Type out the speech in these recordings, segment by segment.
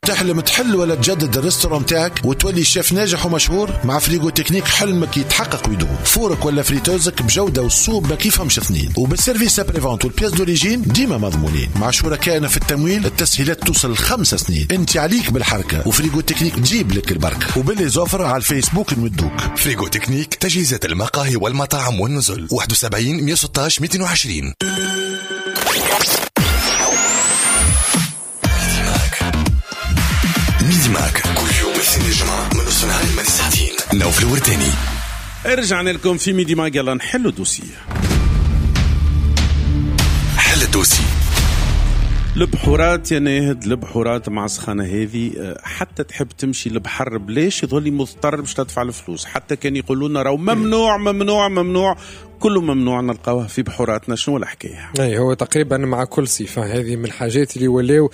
تحلم تحل ولا تجدد ال restaurant تاعك وتولي شيف ناجح ومشهور؟ مع Frigo Technique حلمك يتحقق ويدوم. four ك ولا friteuse ك بجوده والسوق ما كيفهمش اثنين، وبال service après-vente وال pièces d'origine ديما مضمونين. مع شركائنا في التمويل التسهيلات توصل 5 سنين. انت عليك بالحركة و Frigo Technique تجيب لك البركة، وب les offres على الفيسبوك نمدوك. Frigo Technique، تجهيزات المقاهي والمطاعم والنزل، 71 116 220. Midi Mag كل يوم الاثنين الجمعة من نص نهار لمدة ساعتين. نوفل الورتاني. رجعنا لكم في Midi Mag، يلا نحلوا dossier. حل ال dossier. البحورات يا ناهد، البحورات مع السخانة هذه حتى تحب تمشي البحر بلاش يظل مضطر باش تدفع الفلوس، حتى كان يقولوا لنا راهو ممنوع ممنوع ممنوع، كله ممنوع نلقاوه في بحوراتنا. شنو الحكاية؟ اي هو تقريبا مع كل صيفة هذه من الحاجات اللي ولاو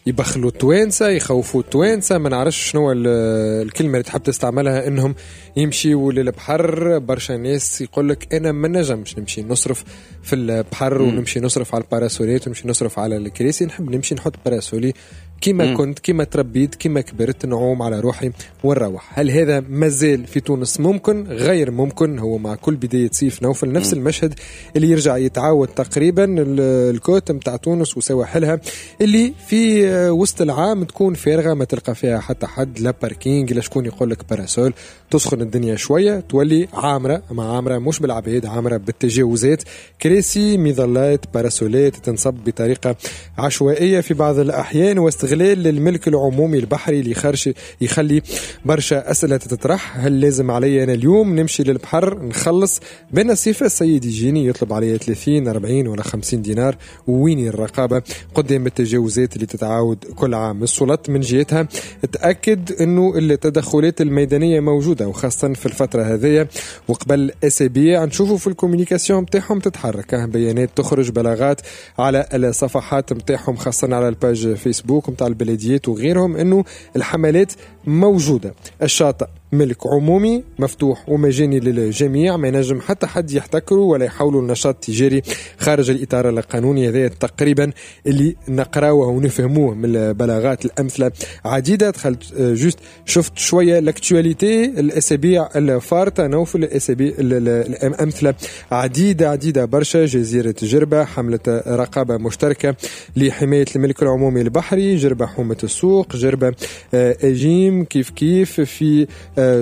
يبخلوا التوانسة، يخوفوا التوانسة، ما نعرفش شنو الكلمة اللي تحب تستعملها، انهم يمشيوا للبحر. برشا ناس يقول لك انا ما نجمش نمشي نصرف في البحر ونمشي نصرف على ال parasol ات ونمشي نصرف على الكراسي، نحب نمشي نحط parasol ي كما كنت، كما تربيت، كما كبرت، نعوم على روحي ونروح. هل هذا مازال في تونس ممكن؟ غير ممكن. هو مع كل بداية صيف نوفل نفس المشهد اللي يرجع يتعاود تقريبا. ال côte متاع تونس وسواحلها اللي في وسط العام تكون فارغة، ما تلقى فيها حتى حد، لا parking لا شكون يقول لك parasol. تسخن الدنيا شوية تولي عامرة، ما عامرة مش بالعباد، عامرة بالتجاوزات، كراسي، مظلات، parasol ات تنصب بطريقة عشوائية في بعض الأحيان، واستغلال للملك العمومي البحري اللي خرج يخلي برشا أسئلة تتطرح. هل لازم علي أنا اليوم نمشي للبحر نخلص بين الصيف السيد يجيني يطلب علي 30 40 ولا 50 دينار؟ وين الرقابة قدام التجاوزات اللي تتعاود كل عام؟ السلطات من جهتها تأكد أنه التدخلات الميدانية موجودة، وخاصة في الفترة هذه وقبل أسابيع نشوفوا في ال communication متاعهم تتحرك، بيانات تخرج، بلاغات على الصفحات متاعهم، خاصة على ال page فيسبوك متاع البلديات وغيرهم، أنه الحملات موجودة. الشاطئ ملك عمومي مفتوح ومجاني للجميع، ما ينجم حتى حد يحتكره ولا يحولوا النشاط التجاري خارج الإطار القانوني. هذا تقريبا اللي نقراوه ونفهموه من البلاغات. الأمثلة عديدة. دخلت juste شفت شوية l'actualité الأسابيع الفارطة نوفل، الأسابيع الأمثلة عديدة عديدة برشا. جزيرة جربة حملة رقابة مشتركة لحماية الملك العمومي البحري، جربة حومة السوق، جربة أجيم كيف كيف، في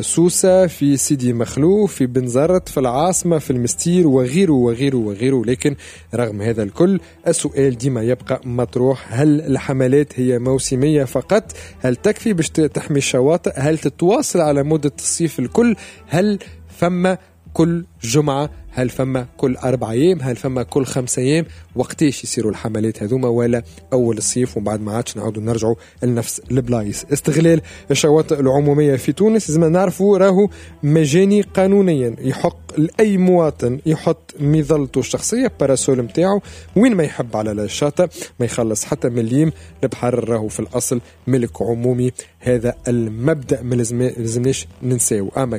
سوسة، في سيدي مخلوف، في بنزرت، في العاصمة، في المستير، وغيره وغيره وغيره. لكن رغم هذا الكل السؤال ديما يبقى مطروح: هل الحملات هي موسمية فقط؟ هل تكفي باش تحمي الشواطئ؟ هل تتواصل على مدة الصيف الكل؟ هل فما كل جمعة؟ هل فما كل 4 أيام؟ هل فما كل 5 أيام؟ وقتاش يصيروا الحملات هذوما؟ ولا أول الصيف وبعد ما عادش نعاودوا نرجعوا لنفس البلايص؟ استغلال الشواطئ العمومية في تونس لازم نعرفوا راهو مجاني قانونيا، يحق لأي مواطن يحط مظلته الشخصية parasol متاعه وين ما يحب على الشاطئ، ما يخلص حتى مليم. البحر راهو في الأصل ملك عمومي، هذا المبدأ ما لازمناش ننساو. أما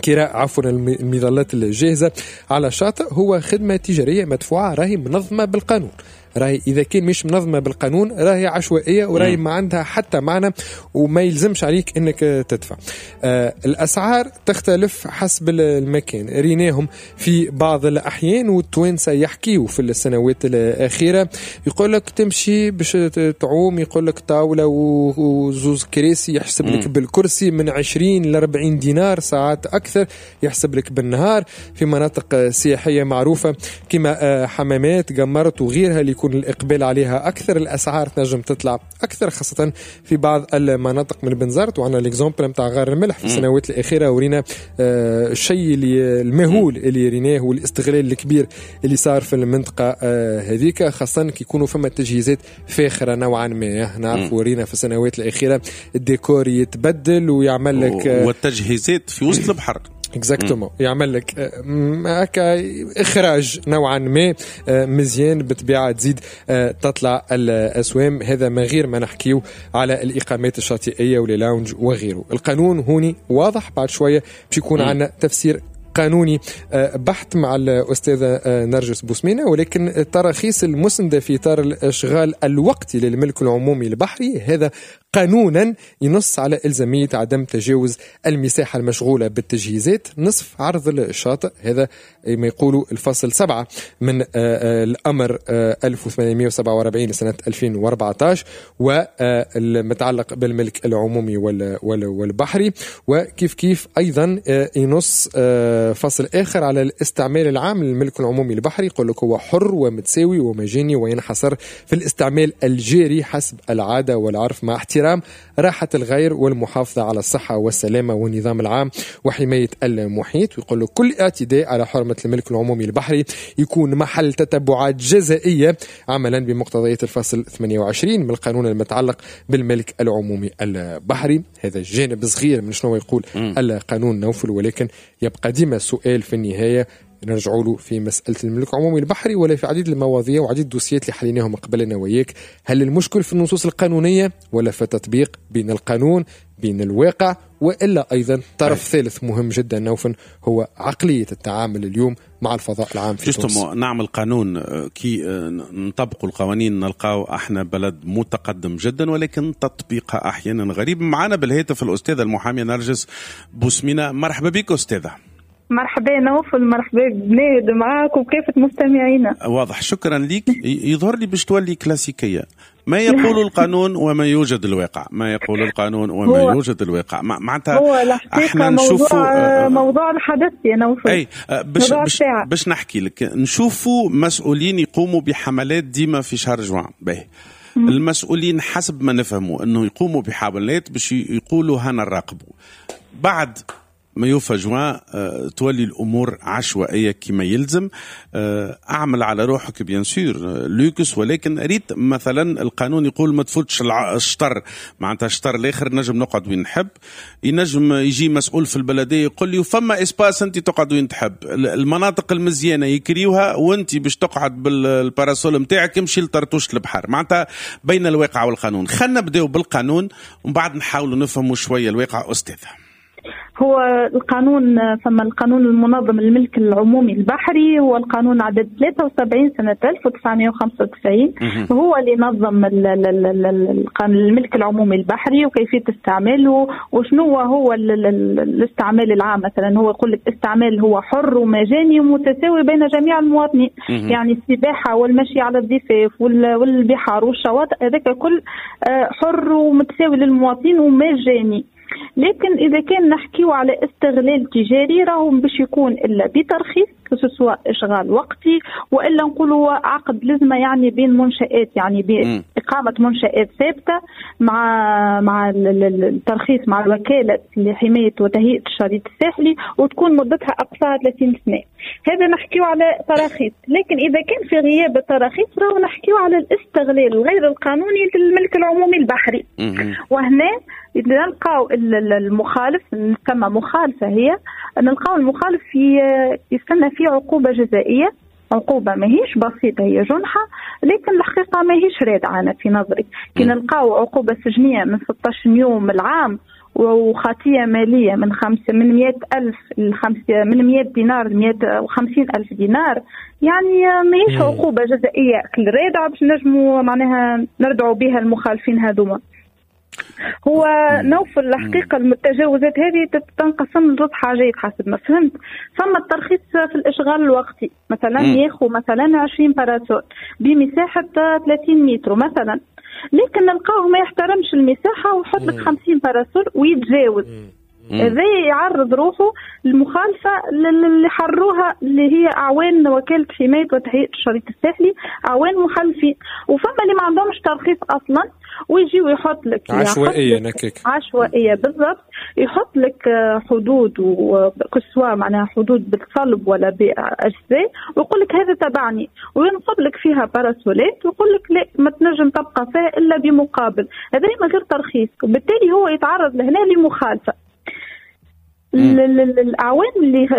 كراء عفوا المظلات الجاهزة على الشاطئ هو خدمة تجارية مدفوعة، راهي منظمة بالقانون. راهي إذا كان مش منظمة بالقانون راهي عشوائية وراهي ما عندها حتى معنى وما يلزمش عليك إنك تدفع. الأسعار تختلف حسب المكان، ريناهم في بعض الأحيان والتوانسة يحكيوا في السنوات الأخيرة، يقولك تمشي باش تعوم يقولك طاولة وزوز كراسي يحسب لك بالكرسي من 20 ل 40 دينار، ساعات أكثر يحسب لك بالنهار. في مناطق سياحية معروفة كما حمامات قمرت وغيرها اللي يكون الإقبال عليها أكثر، الأسعار تنجم تطلع أكثر، خاصة في بعض المناطق من بنزرت. وعندنا l'exemple متاع غار الملح في السنوات الأخيرة، ورينا الشيء اللي المهول اللي ريناه والاستغلال الكبير اللي صار في المنطقة هذيك، خاصة كي يكونوا فما تجهيزات فاخرة نوعا ما. نعرف ورينا في السنوات الأخيرة الديكور يتبدل ويعمل لك والتجهيزات في وسط البحر exactement، يعمل لك هكا اخراج نوعا ما مزيان، بالطبيعة تزيد تطلع الاسوام. هذا من غير ما نحكيو على الاقامات الشاطئيه وال lounge وغيره. القانون هوني واضح، بعد شوية باش يكون عندنا تفسير قانوني بحت مع الأستاذة نرجس بوسمينة، ولكن التراخيص المسندة في إطار الإشغال الوقتي للملك العمومي البحري هذا قانونا ينص على إلزامية عدم تجاوز المساحة المشغولة بالتجهيزات نصف عرض الشاطئ، هذا ما يقولوا الفصل 7 من الأمر 1847 لسنة 2014 والمتعلق بالملك العمومي والبحري. وكيف كيف أيضا ينص فصل آخر على الاستعمال العام للملك العمومي البحري، يقول لك هو حر ومتساوي ومجاني وينحصر في الاستعمال الجاري حسب العادة والعرف مع احترام راحة الغير والمحافظة على الصحة والسلامة والنظام العام وحماية المحيط. ويقول له كل اعتداء على حرمة الملك العمومي البحري يكون محل تتبعات جزائية عملا بمقتضيات الفصل 28 من القانون المتعلق بالملك العمومي البحري. هذا جانب صغير من شنو يقول القانون نوفل، ولكن يبقى ديما السؤال في النهاية نرجعوا له في مسألة الملك العمومي البحري ولا في عديد المواضيع وعديد الدوسيات اللي حليناهم قبلنا وياك. هل المشكل في النصوص القانونية ولا في التطبيق بين القانون بين الواقع، وإلا أيضا طرف ثالث مهم جدا نوفل هو عقلية التعامل اليوم مع الفضاء العام في تونس. نعمل قانون كي نطبقوا القوانين نلقاو احنا بلد متقدم جدا، ولكن تطبيقها أحيانا غريب. معنا بالهاتف الأستاذة المحامية نرجس بوسمينة، مرحبا بك أستاذة. مرحبا نوفل، مرحبا بناد معاك وكافة مستمعينا. واضح، شكرا لك. يظهر لي باش تولي كلاسيكية، ما يقول القانون وما يوجد الواقع، ما يقول القانون وما يوجد الواقع. معناتها احنا نشوفوا موضوع الحدث يا نوفل. اي باش نحكي لك، نشوفوا مسؤولين يقوموا بحملات ديما في شهر جوان. باهي، المسؤولين حسب ما نفهموا انه يقوموا بحملات باش يقولوا هنا نراقبوا، بعد ما يوفى جوان تولي الأمور عشوائية كما يلزم. أعمل على روحك bien sûr luxe، ولكن ريت مثلا القانون يقول ما تفوتش الشطر، معناتها الشطر الآخر نجم نقعد وين نحب، ينجم يجي مسؤول في البلدية يقول لي فما espace أنت تقعد وين تحب، المناطق المزيانة يكريوها وأنت باش تقعد بال parasol متاعك امشي لطرطوش البحر. معناتها بين الواقع والقانون. خلينا نبداو بالقانون ومن بعد نحاولوا نفهموا شوية الواقع. أستاذة، هو القانون، فما القانون المنظم للملك العمومي البحري هو القانون عدد 73 سنة 1995، هو اللي نظم الملك العمومي البحري وكيفية استعماله وشنو هو الاستعمال العام. مثلا هو يقول لك استعمال هو حر ومجاني ومتساوي بين جميع المواطنين، يعني السباحة والمشي على الضفاف والبحار والشواطئ هذاك كل حر ومتساوي للمواطنين ومجاني. لكن إذا كان نحكيو على استغلال تجاري راهو باش يكون إلا بترخيص، سواء إشغال وقتي وإلا نقولوا عقد لزمة، يعني بين منشآت، يعني بإقامة منشآت ثابتة مع الترخيص مع الوكالة لحماية وتهيئة الشريط الساحلي وتكون مدتها أقصاها 30 سنة. هذا نحكيو على تراخيص. لكن إذا كان في غياب التراخيص راهو نحكيو على الاستغلال الغير القانوني للملك العمومي البحري. وهنا نلقاو المخالف، نسمى مخالفة، هي نلقاو المخالف في يستنى فيه عقوبة جزائية، عقوبة ماهيش بسيطة، هي جنحة لكن الحقيقة ماهيش رادعة. أنا في نظري كي نلقاو عقوبة سجنية من 16 يوم العام وخطية مالية من 100,000 من 100 دينار ل 150,000 دينار، يعني ماهيش عقوبة جزائية رادعة باش نجموا معناها نردعوا بها المخالفين هذوما. هو نوفل الحقيقة التجاوزات هذه تنقسم لزوج حاجات حسب ما فهمت. فما الترخيص في الإشغال الوقتي، مثلا ياخو مثلا 20 parasol بمساحة 30 متر مثلا، لكن نلقاه ما يحترمش المساحة ويحط لك 50 parasol ويتجاوز. هذا يعرض روحه للمخالفة اللي حروها اللي هي أعوان وكالة حماية وتهيئة الشريط الساحلي، أعوان محلفين. وفما اللي ما عندهمش ترخيص أصلا ويجي ويحط لك عشوائية، نكك عشوائية بالضبط، يحط لك حدود وكسوة معناها حدود بالصلب ولا بأجزاء ويقول لك هذا تبعني، وينصب لك فيها باراسولات ويقول لك لا ما تنجم تبقى فيها إلا بمقابل، هذا من غير ترخيص، وبالتالي هو يتعرض لهنا لمخالفة. الأعوان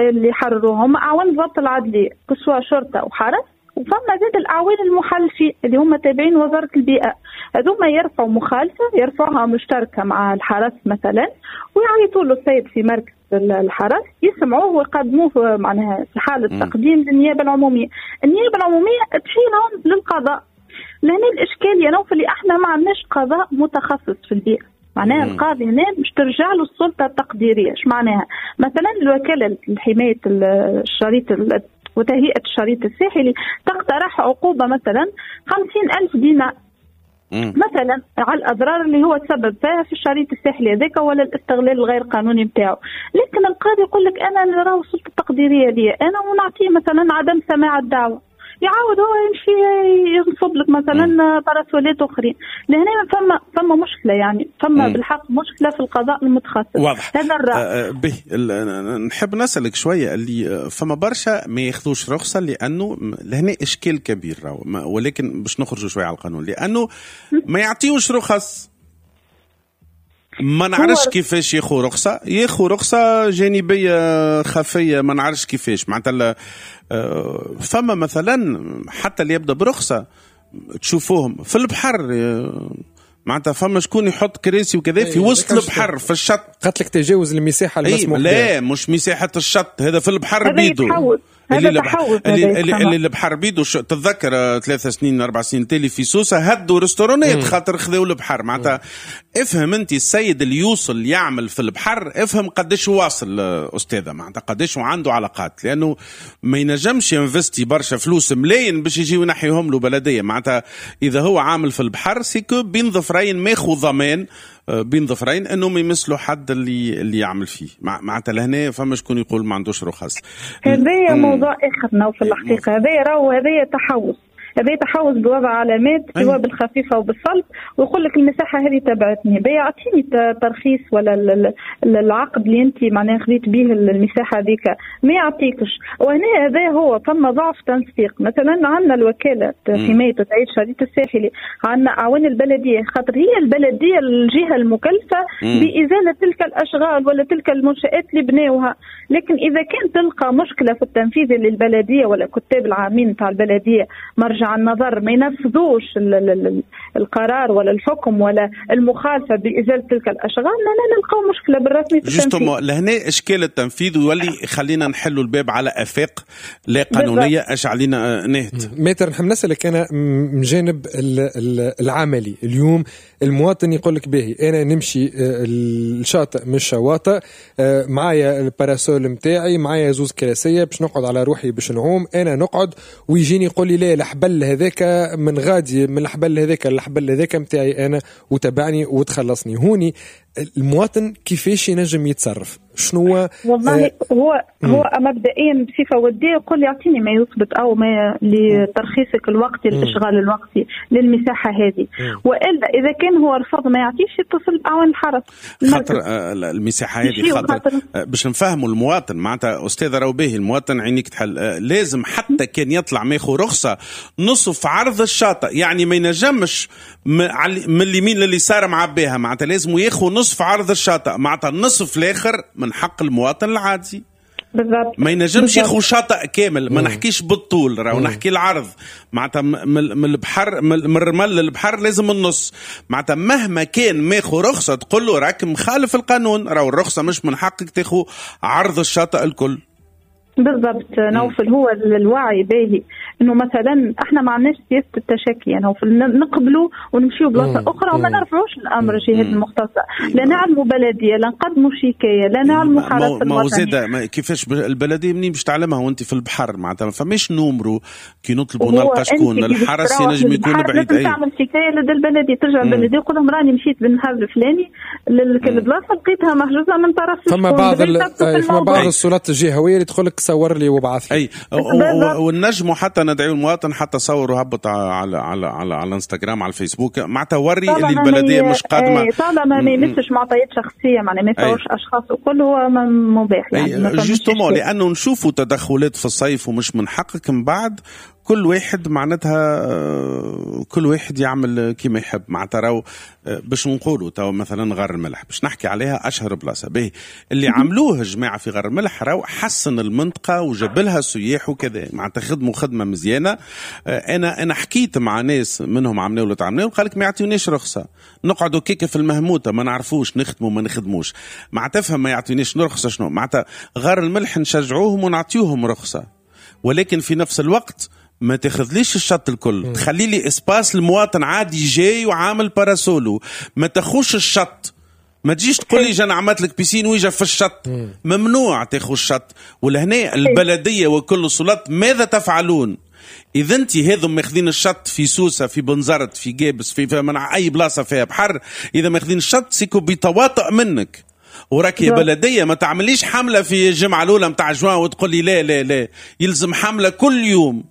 اللي حرروهم أعوان ضبط العدلية كسوة شرطة وحرس، وفما زاد الأعوان المحلفين اللي هم تابعين وزارة البيئة، هذوما يرفعوا مخالفة، يرفعوها مشتركة مع الحرس مثلا، ويعيطوا له السيد في مركز الحرس يسمعوه ويقدموه معناها في حاله تقديم للنيابه العمومية. النيابة العمومية تشيلهم للقضاء. لهنا الاشكال يا نوفل اللي احنا ما عندناش قضاء متخصص في البيئة، معناها القاضي هنا مش ترجع له السلطة التقديريه. ايش معناها؟ مثلا الوكالة لحماية الشريط وتهيئه الشريط الساحلي تقترح عقوبه مثلا 50,000 دينار مثلا على الاضرار اللي هو تسبب فيها في الشريط الساحلي هذاك ولا الاستغلال الغير قانوني نتاعو، لكن القاضي يقول لك انا راهو السلطة التقديريه لي انا، ونعطيه مثلا عدم سماع الدعوة، يعاود هو يمشي ينصب لك مثلا باراسولات اخرين. لهنا فما مشكلة، يعني فما بالحق مشكلة في القضاء المتخصص. واضح هذا الرأي. به نحب نسالك شوية اللي فما برشا ما ياخذوش رخصه لانه لهنا اشكال كبير راهو، ولكن باش نخرجوا شوية على القانون لانه ما يعطيوش رخص. ما نعرفش كيفاش ياخو رخصه، ياخو رخصه جانبيه خفيه، ما نعرفش كيفاش معناتها. فما مثلا حتى اللي يبدا برخصه تشوفوهم في البحر، معناتها فما شكون يحط كراسي وكذا في وسط البحر في الشط. قالت لك تجاوز المساحة المسموح بها. لا مش مساحة الشط، هذا في البحر بيدو. اللي البحر بيدو. تتذكر 3 سنين 4 سنين تالي في سوسة هدوا ريستورانات خاطر خذوا البحر. معناتها افهم انت السيد اللي يوصل يعمل في البحر، افهم قداش واصل استاذه، معناتها قداش عنده علاقات، لانه ما ينجمش ينفستي برشا فلوس ملايين باش يجيو ينحيهم له بلديه. معناتها اذا هو عامل في البحر c'est que بين ظفرين ماخو ضمان بين ظفرين انه ما يمسلو حد اللي يعمل فيه. معناتها لهنا فما شكون يقول ما عندوش رخص. هذا موضوع اخر نوفل الحقيقة. هذا راهو هذا تحوز، هذا تحوز بوضع علامات سواء بالخفيفه وبالصلب، ويقول لك المساحة هذه تبعتني، بيعطيني ترخيص ولا العقد اللي انت معناها خذيت به المساحة هذيك ما يعطيكش. وهنا هذا هو فما ضعف تنسيق. مثلا عندنا الوكالة حماية وتعيد الشريط الساحلي، عندنا اعوان البلدية، خاطر هي البلدية الجهة المكلفه بازالة تلك الاشغال ولا تلك المنشات اللي بناوها. لكن اذا كان تلقى مشكلة في التنفيذ للبلديه ولا كتاب العامين تاع البلدية مرجع النظر ما ينفذوش القرار ولا الحكم ولا المخالفة بازالة تلك الاشغال، لنا نلقاو مشكلة بالرسمي في التنفيذ. لهنا اشكال التنفيذ ويولي خلينا نحلوا الباب على افاق لا قانونية. اش علينا نهت maître. نحب نسالك انا من جانب العملي. اليوم المواطن يقول لك باهي انا نمشي الشاطئ من الشواطئ، معايا ال parasol نتاعي، معايا زوز كراسيه باش نقعد على روحي باش نعوم، انا نقعد ويجيني يقول لي لا الحبل هذاك من غادي، من الحبل هذاك الحبل هذاك نتاعي انا وتبعني وتخلصني. هوني المواطن كيفاش ينجم يتصرف؟ شنو والله هو مبدئيا بصفة وديه يقول يعطيني ما يثبت او ما لترخيصك الوقتي الاشغال الوقتي للمساحه هذه، والا اذا كان هو رفض ما يعطيش يتصل باعوان الحرس. خاطر المساحة هذه خاطر باش نفهموا المواطن معناتها استاذ راهو باهي المواطن عينيك تحل، لازم حتى كان يطلع ماخو رخصه نصف عرض الشاطئ، يعني ما ينجمش من اليمين لليسار معبيها، معناتها لازم ياخو نصف عرض الشاطئ، معناتها النصف الاخر من حق المواطن العادي. بالضبط. ما ينجمش ياخو شاطئ كامل، ما نحكيش بالطول راهو نحكي العرض، معناتها من البحر من الرمل للبحر لازم النص. معناتها مهما كان ماخو رخصه تقول له راك مخالف القانون، راهو الرخصة مش من حقك تاخو عرض الشاطئ الكل. بالضبط نوفل. هو الوعي باهي انه مثلا احنا ما عندناش سياسة التشكي، يعني نقبلوا ونمشيو بلاصة اخرى وما نرفعوش الامر الجهات المختصة، لا نعلموا بلديه، لا نقدموا شكاية، لا نعلموا حرس الوطني. كيفاش البلدية منين باش تعلمها وانت في البحر؟ معناتها ما فماش numéro كي نطلبوا نلقى شكون الحرس ينجم يكون بعيد. لازم تعمل شكاية لدى البلدية، ترجع البلدية وتقول لهم راني مشيت بالنهار الفلاني للبلاصه لقيتها محجوزة من طرف فما بعض السلطات الجهوية اللي تقول لك صور لي وابعث لي. اي والنجم حتى ندعي المواطن حتى صور وهبط على على على على انستغرام على الفيسبوك، معناتها وري اللي البلدية مش قادمة. طالما ما يمسش معطيات شخصية، معناها ما يصورش اشخاص وكل هو مباح يعني. justement لانه نشوفوا تدخلات في الصيف ومش من حقك من بعد كل واحد معناتها كل واحد يعمل كما يحب. معناتها راهو باش نقولوا تو مثلا غار الملح باش نحكي عليها اشهر بلاصة باهي اللي عملوه الجماعة في غار الملح، راهو حسن المنطقة وجاب لها سياح وكذا، معناتها خدموا خدمة مزيانه. انا حكيت مع ناس منهم عملوا ولا تعملوا، قال لك ما يعطيونيش رخصه، نقعدوا كيكة في المهموته، ما نعرفوش نخدموا ما نخدموش، معناتها تفهم ما يعطيونيش رخصه شنو معناتها. غار الملح نشجعوهم ونعطيوهم رخصه، ولكن في نفس الوقت ما تاخذليش الشط الكل، تخلي لي espace المواطن عادي جاي وعامل parasol و، ما تاخوش الشط، ما تجيش تقول لي جانا عملت لك piscine ويجا في الشط، ممنوع تاخو الشط. ولهنا البلدية وكل السلطات ماذا تفعلون؟ إذا أنت هذم ماخذين الشط في سوسة، في بنزرت، في جابس، في منع أي بلاصة فيها بحر، إذا ماخذين الشط سيكو بتواطؤ منك وراك يا بلدية. ما تعمليش حملة في الجمعة الأولى متاع جوان وتقول لي لا لا لا، يلزم حملة كل يوم،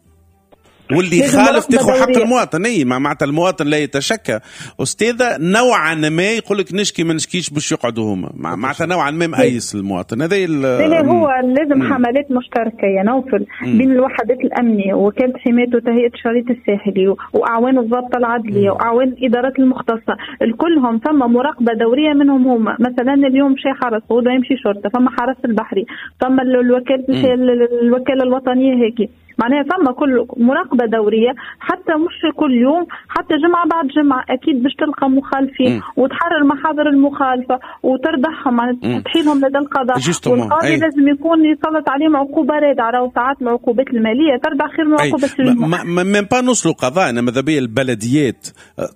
واللي خالف تاخذ حق المواطن. اي معناتها المواطن لا يتشكى استاذه نوعا ما يقول لك نشكي ما نشكيش باش يقعدوا هما، معناتها نوعا ما مأيس المواطن هذا. لا هو لازم حملات مشتركة يا نوفل بين الوحدات الامنية وكالة حماية وتهيئه الشريط الساحلي واعوان الضابطه العدليه واعوان الادارات المختصة، الكلهم ثم مراقبة دورية منهم هما. مثلا اليوم مشي حرس غدا يمشي شرطه، ثم حرس البحري، ثم الوكالة الوطنية هيك، معناها ثم كل مراقبة دورية، حتى مش كل يوم، حتى جمعة بعد جمعة أكيد باش تلقى مخالفين وتحرر محاضر المخالفة وتردحهم، معناها تحيلهم لدى القضاء، والقاضي لازم يكون يسلط عليهم عقوبة رادعة. راهو ساعات العقوبات المالية تردع خير من عقوبة même pas نوصلوا قضاء. أنا ماذا بيا البلديات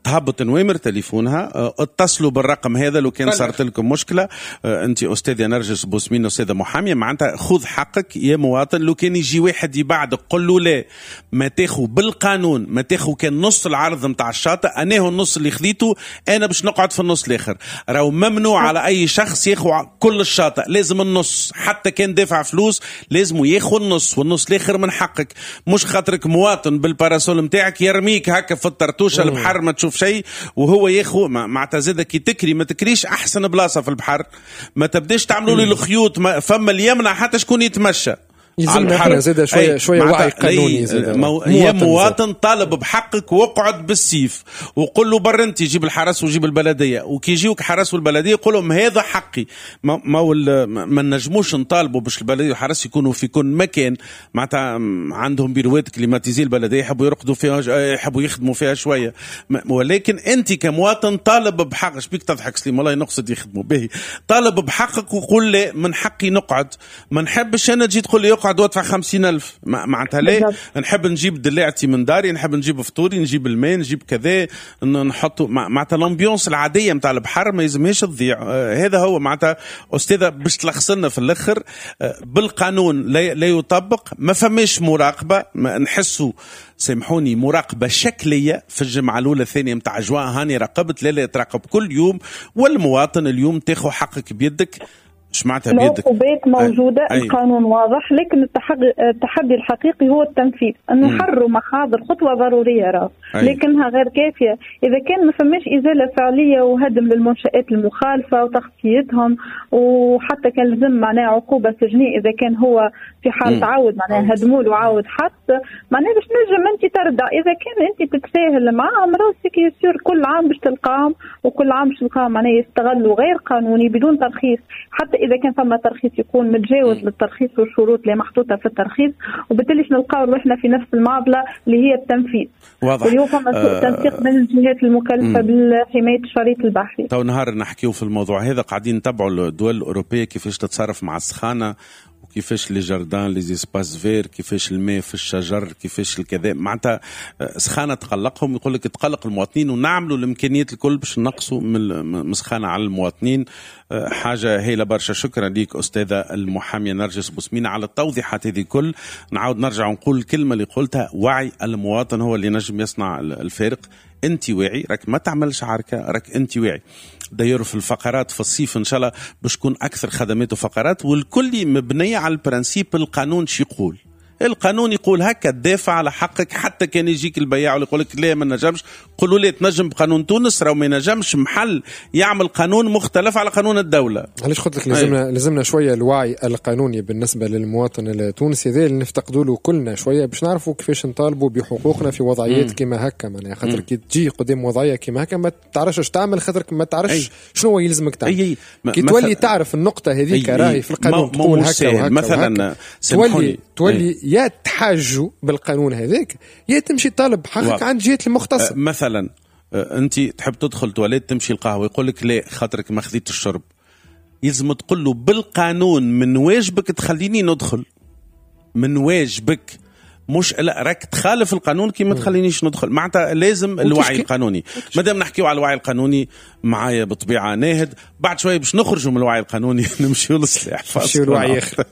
تهبط نوامر تليفونها، اتصلوا بالرقم هذا لو كان صارت لكم مشكلة. أنت أستاذة نرجس بوسمين أستاذة محامية، معناتها خذ حقك يا مواطن. لو كان يجي واحد يبعدك قل له لا، ما تاخو بالقانون، ما تاخو كان نص العرض متاع الشاطئ، انا هو النص اللي خذيته انا باش نقعد في النص الاخر. راهو ممنوع على اي شخص ياخو كل الشاطئ، لازم النص، حتى كان دافع فلوس لازم ياخو النص، والنص الاخر من حقك. مش خاطرك مواطن بال parasol متاعك يرميك هكا في الطرطوشه البحر ما تشوف شيء وهو ياخو. معناتها زاد كي تكري ما تكريش احسن بلاصة في البحر، ما تبداش تعملوا لي الخيوط، فما اللي يمنع حتى شكون يتمشى. يلزمنا احنا زاد شوية وعي قانوني زاد. يا مواطن طالب بحقك واقعد بالسيف وقل له بر انت جيب الحرس وجيب البلدية، وكي يجيوك حرس والبلديه قول لهم هذا حقي. ما نجموش نطالبوا باش البلدية والحرس يكونوا في كل مكان، معناتها عندهم بيروات climatisées البلدية يحبوا يرقدوا فيها، يحبوا يخدموا فيها شوية، ولكن انت كمواطن طالب بحقك. شبيك تضحك سليم؟ والله نقصد يخدموا به. طالب بحقك وقول لا من حقي نقعد، ما نحبش انا تجي تقول لي اقعد وادفع 50,000. معناتها ليه؟ نحب نجيب دلاعتي من داري، نحب نجيب فطوري، نجيب الماء، نجيب كذا، نحطه. معناتها l'ambiance العادية نتاع البحر ما يلزمهاش تضيع. هذا هو معناتها استاذه باش تلخص لنا في الاخر. بالقانون لا يطبق، ما فماش مراقبة، ما نحسوا سامحوني مراقبة شكلية في الجمعة الاولى الثانية نتاع جوان، هاني راقبت، لا تراقب كل يوم. والمواطن اليوم تاخذ حقك بيدك. اش معناتها بيدك؟ العقوبات موجودة. القانون واضح، لكن التحدي الحقيقي هو التنفيذ. أنه حروا محاضر خطوة ضرورية راه، لكنها غير كافية إذا كان ما فماش إزالة فعلية وهدم للمنشآت المخالفة وتخطيتهم، وحتى كان لزم معناها عقوبة سجنية إذا كان هو في حال تعود معناها هدمول وعاود حط، معناها باش نجم أنت تردع. إذا كان أنت تتساهل معاهم راسك يصير كل عام باش تلقاهم، وكل عام باش تلقاهم معناها يستغلوا غير قانوني بدون ترخيص، حتى إذا كان فما ترخيص يكون متجاوز للترخيص والشروط اللي محطوطة في الترخيص، وبالتالي نلقاو روحنا في نفس المعضلة اللي هي التنفيذ. واضح. واليوم فما سوء تنسيق بين الجهات المكلفة بالحماية الشريط البحري. تو نهار نحكيو في الموضوع هذا، قاعدين نتبعوا الدول الأوروبية كيفاش تتصرف مع السخانة، وكيفاش les jardins les espaces verts، كيفاش الماء في الشجر، كيفاش الكذا. معناتها سخانه تقلقهم، يقول لك تقلق المواطنين، ونعملوا الامكانيات الكل باش نقصوا من سخانه على المواطنين. حاجة هايلة برشا. شكرا ليك استاذه المحاميه نرجس بوسمينه على التوضيحات هذه الكل. نعاود نرجع ونقول الكلمة اللي قلتها، وعي المواطن هو اللي نجم يصنع الفارق. انت واعي، راك ما تعملش عركة، راك انت واعي. داير في الفقرات في الصيف ان شاء الله باش تكون اكثر خدمات وفقرات، والكل مبنية على ال principe القانون شي يقول. القانون يقول هكا، تدافع على حقك حتى كان يجيك البياع ويقول لك لا ما نجمش، قولوا لي تنجم بقانون تونس، راهو ما ينجمش محل يعمل قانون مختلف على قانون الدولة. علاش قلت لك لازمنا شوية الوعي القانوني بالنسبة للمواطن التونسي هذا اللي نفتقدوا له كلنا شوية، باش نعرفوا كيفاش نطالبوا بحقوقنا في وضعيات كيما هكا. معناها خاطر كي تجي قدام وضعية كيما هكا ما تعرفش تعمل، خاطر ما تعرفش شنو يلزمك تعمل. كي تولي تعرف النقطة هذيك راهي في القانون تقول هكا وهكا مثلا، تولي يا تحاجوا بالقانون هذاك يا تمشي طالب حقك عند جهة المختصة. مثلا انت تحب تدخل تواليت تمشي القهوة، يقول لك لا خاطرك ما خذيت الشرب، يلزم تقول له بالقانون من واجبك تخليني ندخل، من واجبك، مش لا راك تخالف القانون كي ما تخلينيش ندخل. معناتها لازم الوعي القانوني. مادام نحكيو على الوعي القانوني معايا بطبيعة ناهد، بعد شوية باش نخرجوا من الوعي القانوني نمشيو للسلاح، نمشيو للوعي اخر.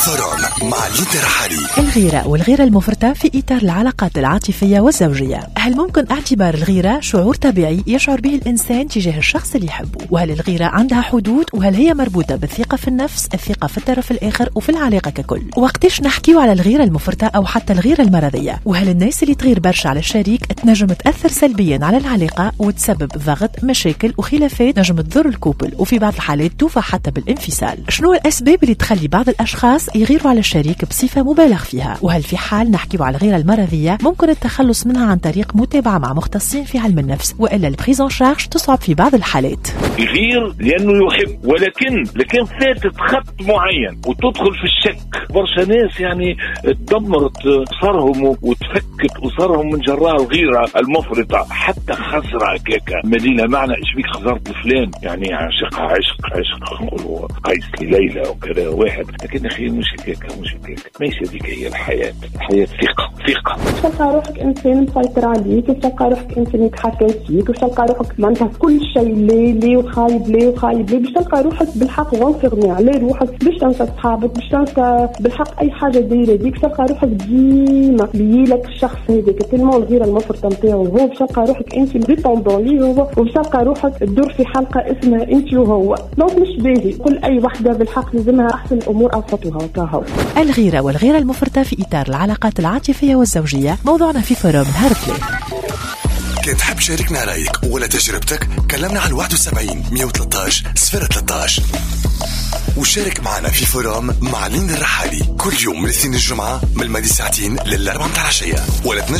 forum مع لينا الرحالي. الغيرة والغيرة المفرطة في إطار العلاقات العاطفية والزوجية. هل ممكن اعتبار الغيرة شعور طبيعي يشعر به الإنسان تجاه الشخص اللي يحبه؟ وهل الغيرة عندها حدود؟ وهل هي مربوطة بالثقة في النفس، الثقة في الطرف الآخر وفي العلاقة ككل؟ وقتاش نحكيو على الغيرة المفرطة أو حتى الغيرة المرضية؟ وهل الناس اللي تغير برشا على الشريك تنجم تأثر سلبيا على العلاقة وتسبب ضغط، مشاكل وخلافات نجم تضر ال couple، وفي بعض الحالات توفى حتى بالانفصال؟ شنو الأسباب اللي تخلي بعض الأشخاص يغيروا على الشريك بصفة مبالغ فيها؟ وهل في حال نحكيو على الغيرة المرضية ممكن التخلص منها عن طريق متابعة مع مختصين في علم النفس، وإلا ال prise en charge تصعب في بعض الحالات؟ يغير لأنه يحب، ولكن لكن فاتت خط معين وتدخل في الشك. برشا ناس يعني تدمرت أسرهم وتفكت أسرهم من جراء الغيرة المفرطة، حتى خسرة كيكا مدينة معنى إيش بيك خسرت فلان، يعني عشقها عشق عشق نقولوا قيس ليلى وكذا واحد، لكن أخي مش هكاك مش هكاك، ماشي هذيك هي الحياة. الحياة ثقة ثقة. تلقى روحك إنسان مسيطر عليك، تلقى روحك إنسان يتحكم فيك، وتلقى روحك معناتها كل شيء لي لي وخايب لي وخايب لي، باش تلقى روحك بالحق renfermé على روحك، باش تنسى صحابك، باش تنسى بالحق أي حاجة دايرة بيك، تلقى روحك ديما ليلك الشخص هذاك tellement الغيرة المفرطة نتاعو هو، باش تلقى روحك أنت dépendant ليه هو، وباش تلقى روحك تدور في حلقة اسمها أنت وهو. donc مش باهي. كل أي وحدة بالحق لازمها أحسن الأمور أوسطها وكهو. الغيرة والغيرة المفرطة في إطار العلاقات العاطفية والزوجية موضوعنا في forum نهار الاثنين. كان تحب شاركنا رأيك ولا تجربتك كلمنا على 71 113 013 وشارك معنا في forum مع لين الرحالي كل يوم من الاثنين الجمعة من الماضي ساعتين للأربعة متاع العشية، ولا تنجم